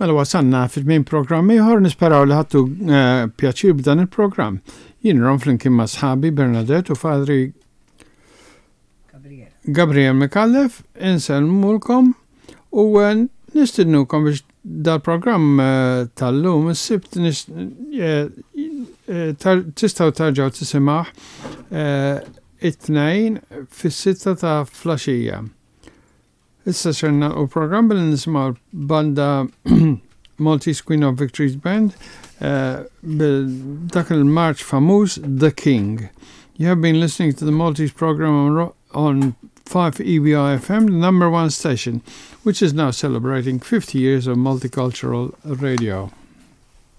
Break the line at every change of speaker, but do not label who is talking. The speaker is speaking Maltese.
Mela wasalna fit-tmiem programm ieħor nisperaw li ħadtu eh, pjaċir b'dan il-programm. Jien rom flimkien ma' sħabi Bernadette u Fadri Gabriel Micallef insellmulkom u eh, nistidnukom biex dal-programm eh, tal-lum is-sibt tistgħu tarġgħu tisimgħu it-tnejn fis-sitta ta' flaxija. Issa ser nagħlqu l-programm billi nisimgħu l-banda Maltese Queen of Victories Band eh, bil dak il-marċ famuż The King. You have been listening to the Maltese program on, on 5 EBI FM, the number one station, which is now celebrating 50 years of multicultural radio.